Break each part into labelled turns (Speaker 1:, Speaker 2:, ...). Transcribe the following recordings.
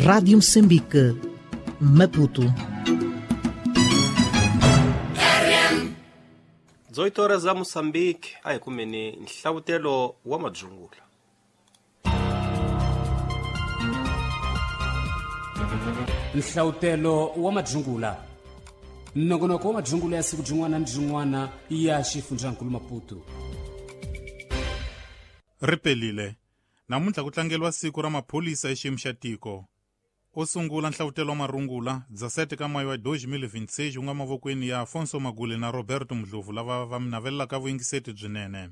Speaker 1: Rádio Moçambique, Maputo.
Speaker 2: 18 horas za Moçambique, a hi kumeni nhlavutelo wa madzungula.
Speaker 3: Nhlavutelo wa madzungula. Nongonoko wa madzungula ya siku jin'wana ni jin'wana ya xifundzankulu Maputo.
Speaker 4: Ri pelile. Namuntlha ku tlangeriwa siku ra maphorisa exiyimo xa tiko. O sungula nhlavutelo wa marungula 17 ka mayo wa 2026 wu nga mavokweni ya Afonso Magule na Roberto Mdlovu lava va mi navelelaka vuyingiseti byinene.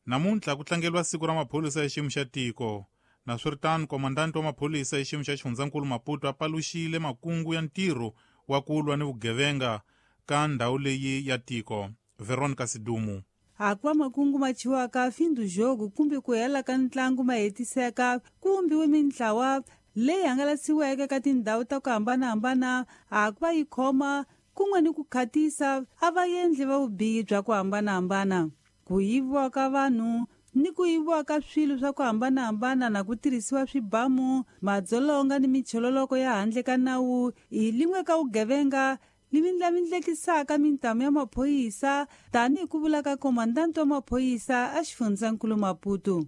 Speaker 4: Namuntlha ku tlangeriwa siku ra maphorisa exiyimo xa tiko. Naswiritano, komandanti wa maphorisa exiyimo xa xifundzankulu Maputo a paluxile makungu ya ntirho wa ku lwa ni vugevenga ka ndhawu leyi ya tiko. Veronica Sidumu.
Speaker 5: Hakuva makungu ma chiwaka fim do jogo kumbe ku hela ka ntlangu ma hetiseka ku vumbiwe mintlawa leyi hangalasiweke ka tindhawu ta ku hambanahambana hakuva yi khoma kun'we ni ku khatisa a va endli va vubihi bya ku hambanahambana, ku yiviwa ka vanhu ni ku yiviwa ka swilo swa ku hambanahambana na ku tirhisiwa swibamu, madzolonga ni michololoko ya handle ka nawu hi lin'we ka vugevenga limindlamindlekisaka mintamu ya maphorisa tanihi ku vula ka komandanti wa maphorisa a xifundzankulu Maputo.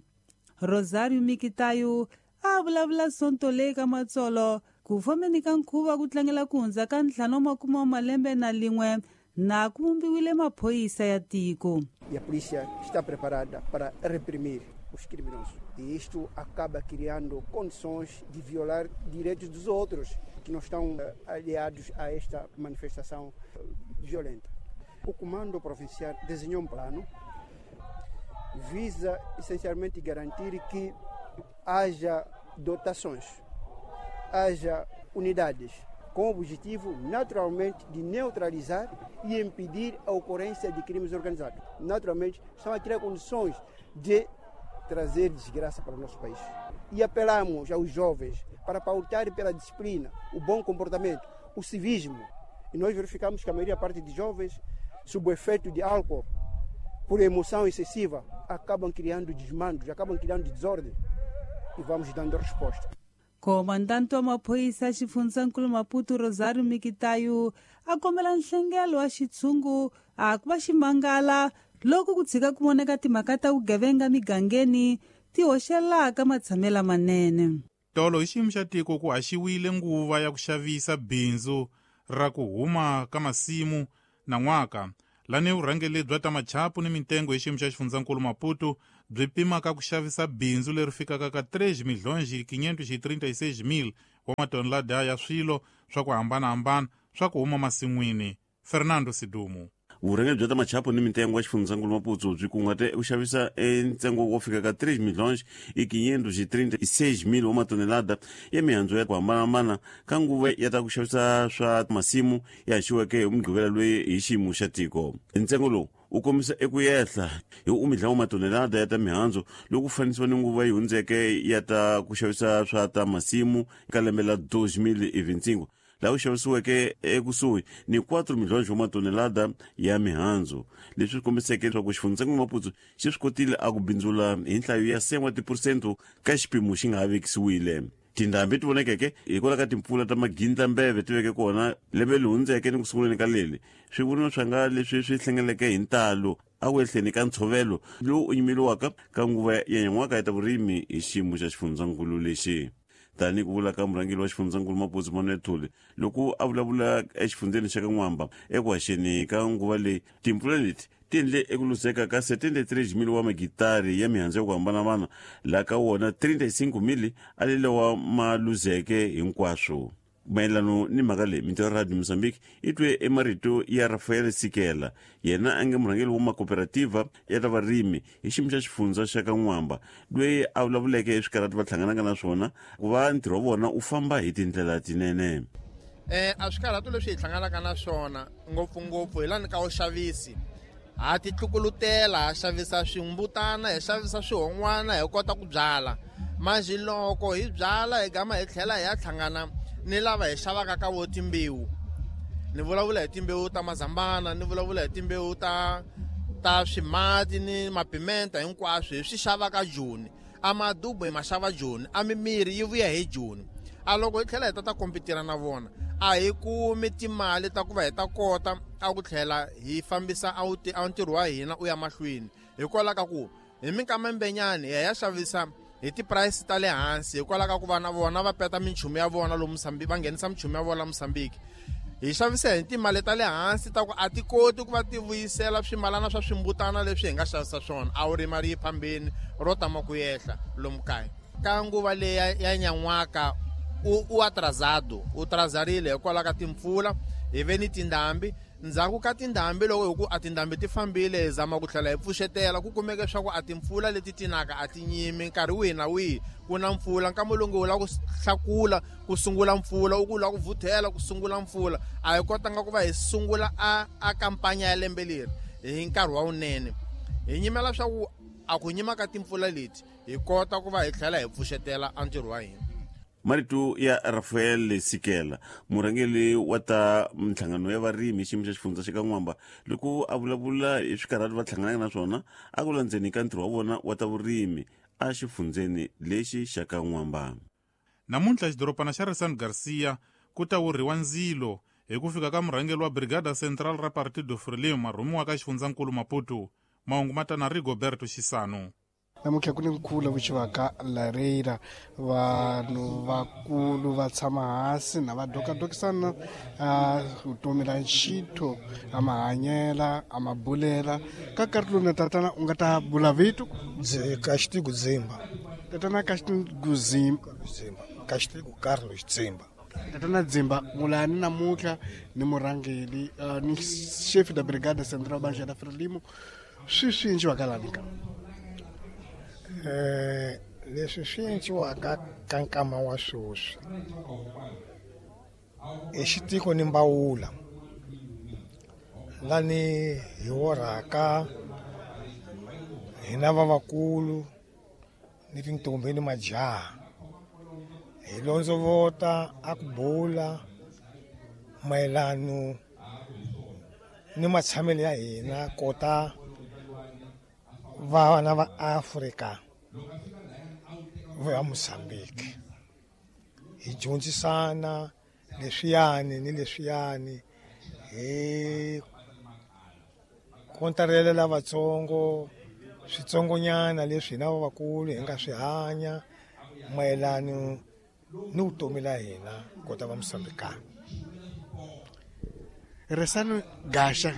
Speaker 5: Rosario Mikitayo a vulavula sonto leyi ka Matsolo ku fambeni ka nkhuvo ku tlangela ku hundza ka 51 wa malembe na lin'we na ku vumbiwile maphorisa ya tiko.
Speaker 6: E a polícia está preparada para reprimir os criminosos. E isto acaba criando condições de violar direitos dos outros que não estão aliados a esta manifestação violenta. O Comando Provincial desenhou um plano, visa essencialmente garantir que haja dotações, haja unidades, com o objetivo, naturalmente, de neutralizar e impedir a ocorrência de crimes organizados. Naturalmente, estão a criar condições de trazer desgraça para o nosso país. E apelamos aos jovens para pautarem pela disciplina, o bom comportamento, o civismo. E nós verificamos que a maioria parte de jovens, sob o efeito de álcool, por emoção excessiva, acabam criando desmandos, acabam criando desordem. E vamos dando resposta.
Speaker 5: Comandante wa maphorisa xifundzankulu Maputo Rosario Mikitayo a kombela nhlengelo wa xitshungu a ku va ximangala loko ku tshika ku voneka timhaka ta vugevenga migangeni ti hoxelaka matshamelo manene.
Speaker 4: Tolo hi xiyimo xa tiko ku haxiwile nguva ya ku xavisa bindzu ra ku huma ka masimu nan'waka lani vurhangeri bya ta machapu ni mitengo hi xiyimo xa xifundzankulu Maputo byi pimaka ku xavisa bindzu leri fikaka ka 3,536,000 wa matonelada ya swilo swa ku hambanahambana swa ku huma masin'wini. Fernando Sidumu.
Speaker 7: Vurhangeri bya ta machapu ni mitengo ya xifundzankulu Maputo byi kunguhate ku xavisa ntsengo wo fika ka 3,536,000 wa matonelada ya mihandzu ya ku hambanahambana ka nguva ya ta ku xavisa swa masimu ya haxiweke hi Mugqivela loyi hi xiyimo xa tiko. Ntsengo lowu wu kombisa eku yehla hi umidla wa matonelada ya ta mihandzu loko ku fanisiwa ni nguva yi hundzeke ya ta ku xavisa swa ta masimu ka lembe la 2025 laha ku xavisiweke ekusuhi ni 4 milhonji wa matonelada ya mihandzu, leswi swi kombiseke leswaku xifundzankulu Maputo xi swi kotile a ku bindzula hi nhlayo ya 7 wa tiphurosente ka xipimo xi nga ha vekisiwile. Tindhambi ti vonekeke hikwalaho ka timpfula ta magindlambeve ti veke kona lembe leri hundzeke ni ku sunguleni ka leli, swi voniwa swa nga leswi swi hlengeleke hi ntalo a ku ehleni ka ntshovelo lowu u nyimeliwaka ka nguva ya nyan'waka ya ta vurimi hi xiyimo xa xifundzankulu lexi. Tanihi ku vula ka murhangeri wa xifundzankulu Maputo Manuel Thuli loko a vulavula exifundzeni xa ka N'wamba eku haxeni ka nguva leyi, timpfula leti ti endle eku luzeka ka 73,000 wa magitari ya mihandzu ya ku hambanahambana, laha ka wona 35,000 a lelewa ma luzeke hinkwaswo. Mayelano ni mhaka leyi, mintirho ya Radio Mozambique yi twe emarito ya Rafael Sikela, yena a nga murhangeri wa makooperativa ya ta varimi hi xiyimo xa xifundza xa ka N'wamba, loyi a vulavuleke eswikarhati va hlanganaka na swona ku va ntirho wa vona wu famba hi tindlela tinene.
Speaker 8: A swikarhato leswi hi hlanganaka na swona ngopfungopfu hi lani ka vuxavisi, ha ti tlukulutela, ha xavisa swimbutana, hi xavisa swihon'wana, hi kota ku byala. Manjhe loko hi byala hi gama hi tlhela hi ya hlangana ni lava hi xavaka ka vo timbewu. Ni vulavula hi timbewu ta mazambana, ni vulavula hi timbewu ta swimati ni mapimenta hinkwaswo hi swi xavaka Joni. A madubu hi ma xava Joni, a mimiri yi vuya hi Joni. A loko hi tlhela hi ta kompitira na vona, a hi kumi timali ta ku va hi ta kota a ku tlhela hi fambisa a ntirho wa hina u ya mahlweni. Hikwalaho ka ku hi minkama mbenyani hi ya xavisa hi ti-price ta le hansi, hikwalaho ka ku va na vona va peta minchumu ya vona lomu Mozambique, va nghenisa minchumu ya vona Mozambique. Hi xavisa hi timali ta le hansi ta ku a ti koti ku va ti vuyisela swimalana swa swimbutana leswi hi nga xavisa swona. A wu ri mali yi phambeni ro tama ku yehla lomu kaya. Ka nguva leyi ya nyan'waka u atrasado, u trazarile hikwalaho ka timpfula, hi ve ni tindhambi. Ndzhaku ka tindhambi loko hi ku a tindhambi ti fambile, hi zama ku tlhela hi pfuxetela, ku kumeke swa ku a timpfula leti tinaka a ti nyimi nkarhi wihi na wihi ku na mpfula. Nkama lowu nge u lava ku hlakula ku sungula mpfula, u ku lava ku vuthela ku sungula mpfula. A hi kotanga ku va hi sungula a kampanya ya lembe leri hi nkarhi wa wunene. Hi nyimela swa ku a ku nyima ka timpfula leti hi kota ku va hi tlhela hi pfuxetela a ntirho wa hina.
Speaker 7: Marito ya Rafael Sikela, murhangeri wa ta minhlangano ya varimi hi xiyimo xa xifundza xa ka N'wamba, loko a vulavula hi swikarhati va hlanganaka na swona a ku landzeni ka ntirho wa vona wa ta vurimi a xifundzeni lexi xa ka N'wamba.
Speaker 4: Namuntlha xidorobana xa Ressano Garcia ku ta wurhiwa ndzilo hi ku fika ka murhangeri wa Brigada Central ra Partido Frelimo marhumiwa ka xifundzankulu Maputo. Mahungu ma ta na Rigoberto Xisano.
Speaker 9: Namuntlha ku ni nkhuvo lowu vitiwaka Lareira. Vanhu vakulu va tshama hansi na va dokadokisana vutomi la nxitho, a mahanyela, a mabulela. Ka nkarhi lowu na tatana u nga ta bula vito?
Speaker 10: Kashitiku Dzimba.
Speaker 9: Tatana Kashitiku Dzimba.
Speaker 10: Dzimba. Kashitiku Carlos Dzimba.
Speaker 9: Tatana Dzimba, mulani namuntlha ni murhangeri, ni chef da Brigada Central Banja da Frelimo. Swi swi endliwaka lani ka?
Speaker 10: Leswi swi endliwaka ka nkama wa sweswi i xitiko ni mbawula lani hi worhaka hina vavakulu ni tintombi ni majaha, hi londzovota a ku bula mayelano ni matshamelo ya hina kota vana va Afrika va Mozambique. Hi dyondzisana leswiyani ni leswiyani, hi kontarela lavatsongo switsongonyana leswi hina vavakulu hi nga swi hanya mayelano ni vutomi la hina kota va Mozambikana.
Speaker 9: Ressano Gaxa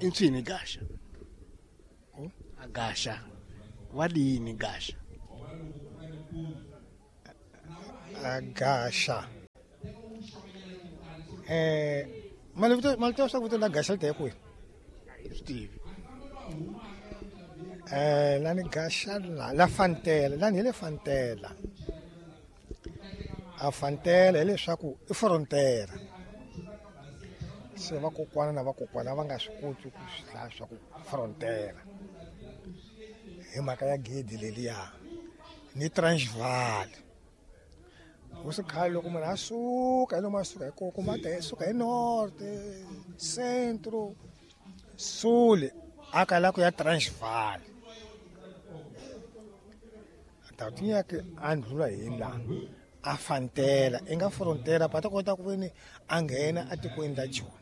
Speaker 9: i ncini Gaxa? A Gaxa wa lini Gaxa?
Speaker 10: A Gaxa malito swa ku la Gaxa li ta kwihi?
Speaker 9: Swi tivi.
Speaker 10: Lani Gaxa la Fantela, lani hi le Fantela. A Fantela hileswaku i frontera. Se vakokwana na vakokwana va nga swi koti ku swi hlaya swa ku frontera hi mhaka ya gedi leliya ni Transvaal. Hosi khale loko munhu a suka hi lomu a suka hi kona, kuma a ta suka hi north, centro, sul, a kala ku ya Transvaal. A ta tinyaka a ndlula hi la a Fantela, i nga frontera pa ta kota ku veni a nghena atikweni la Joni.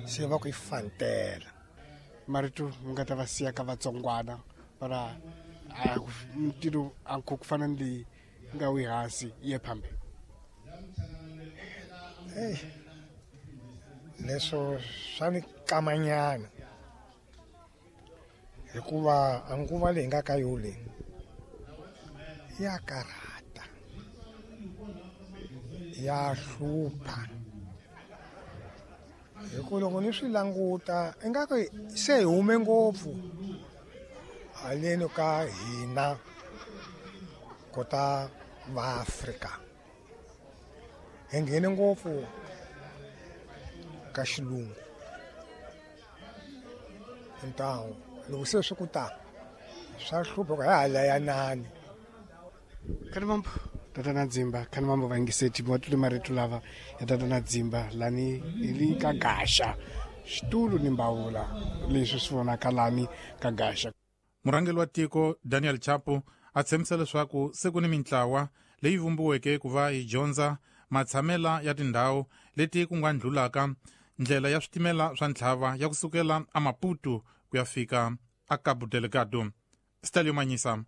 Speaker 10: Se va ku i Fantela.
Speaker 9: Marito mi nga ta va siya ka vatsongwana para ntirho a ku fana ni leyi nga wi hansi yi ye phambili.
Speaker 10: Hey, leswo swa ni kamanyana hikuva a nguva leyi nga ka yo leyi ya karhata, ya hlupha. Hikuva loko ni swi languta ingaku se hi hume ngopfu haleni ka hina kota va Afrika, hi nghene ngopfu ka xilungu. Ntawu loko se swi ku ta swa hlupha ku hi halayanani.
Speaker 9: Khanimambo Tatana Dzimba, Khanimambo vayingiseti va twile marito lava ya Tatana Dzimba lani hi li ka Gaxa, xitulu ni mbawula leswi swi vonaka lani ka Gaxa.
Speaker 4: Murhangeri wa tiko Daniel Chapo A tshembisa leswaku se ku ni mintlawa leyi vumbiweke ku va yi dyondza matshamela ya tindhawu leti ku nga ndlulaka ndlela ya switimela swa ntlhava ya kusukela aMaputo ku ya fika a Cabo Delgado. Stalio Manyisa.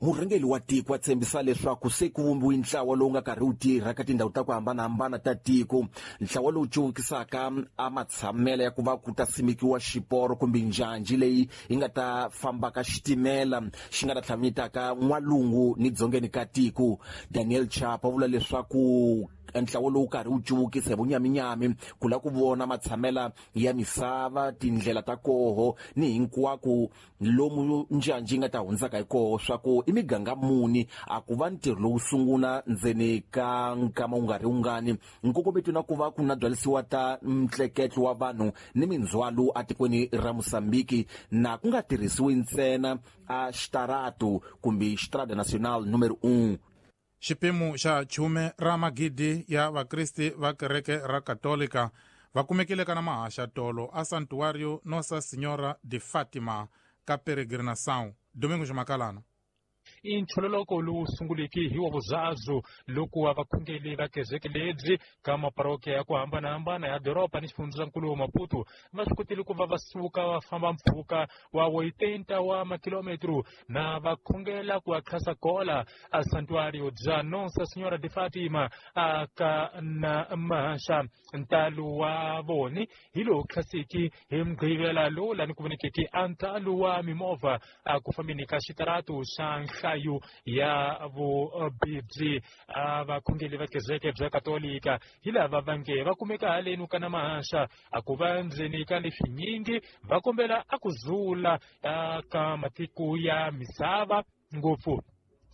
Speaker 11: Murhangeri wa tiko a tshembisa leswaku se ku vumbiwe ntlawa lowu nga karhi wu tirha ka tindhawu ta ku hambanahambana ta tiko, ntlawa lowu cuvukisaka a matshamela ya ku va ku ta simekiwa xiporo kumbe njhanji leyi yi nga ta fambaka xitimela xi nga ta tlhamanyetaka n'walungu ni dzongeni ka tiko. Daniel Chapa vula leswaku ntlawa lowu karhi wu cuvukisa hi vunyaminyami ku lava ku vona matshamela ya misava, tindlela ta koho ni hinkwako lomu njhanji yi nga ta hundzaka hi koho, swa ku i miganga muni a ku va ntirho lowu sungula ndzeni ka nkama wu nga ri wungani. Nkongometo na ku va ku na byalisiwa ta ntleketlo wa vanhu ni mindzhwalo atikweni ra Mosambiki, na ku nga tirhisiwi ntsena a xitaratu kumbe Estrada Nacional numero 1.
Speaker 4: Xipimo xa 10 ra magidi ya vakristi va kereke ra Katolika va kumekile kana mahaxa tolo a Santuário Nossa Senhora de Fátima ka Peregrinação. Domingo Makalana.
Speaker 12: I nchololoko lowu sunguleke hi wa vuzazu loko wa vakhongeli va kereke lebyi ka maparokiya ya ku hambanahambana ya doroba ni xifundzankulu wa Maputo va swi kotile ku va va suka va famba mpfhuka wa 80 wa makilometro na va khongela ku akhasa kola a santuario bya Nossa Senhora de Fatima a ka na mahaxa. Ntalo wa voni hi lowu khasiki hi mugqivela lowu lani ku vonekeke a ntalo wa mimovha a ku fambeni ka xitaratu xa nhlayo ya vubibyi. A vakhongeli va kereke bya Katolika hi lava va nge va kumeka haleni ka na mahaxa a ku va ndzeni ka leswinyingi va kombela a ku zula ka matiko ya misava ngopfu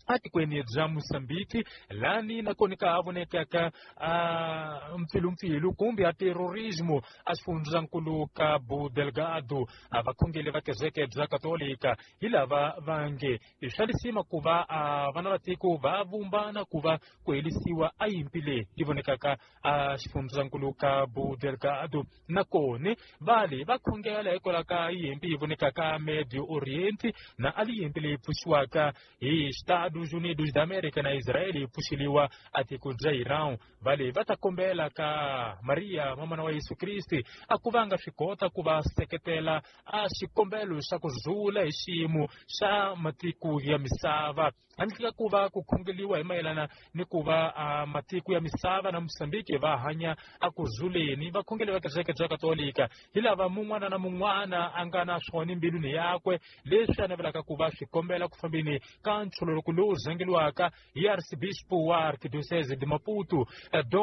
Speaker 12: atikweni bya Mosambiki lani nakona ka ha vonekaka a mpfilumpfilu kumbe a terrorismo a xifundzankulu Cabo Delgado. A vakhongeli va kereke bya Katolika hi lava va nge i swa lisima ku va a vana va tiko va vumbana ku va ku helisiwa a yimpi leyi yi vonekaka a xifundzankulu Cabo Delgado. Nakona vale va khongela hikwalaho ka yimpi yi vonekaka Medio Oriente na a yimpi leyi pfuxiwaka hi Estados Unidos da América na Israel yi pfuxeliwa a tiko bya Iran. Vale va ta kombela ka Maria mamana wa Yesu Kriste a ku va nga swi kota ku va seketela a xikombelo xa ku zula hi xiyimo xa matiko ya misava handle ka ku va ku khongeliwa hi mayelana ni ku va a matiko ya misava na Mosambiki va hanya a ku zuleni. Vakhongeli va kereke bya Katolika hi lava mun'wana na mun'wana a nga na swona embilwini yakwe leswi a navelaka ku va swi kombela ku fambeni ka nchololoko lowu rhangeliwaka hi Arcebispo wa Arquidiocese de Maputo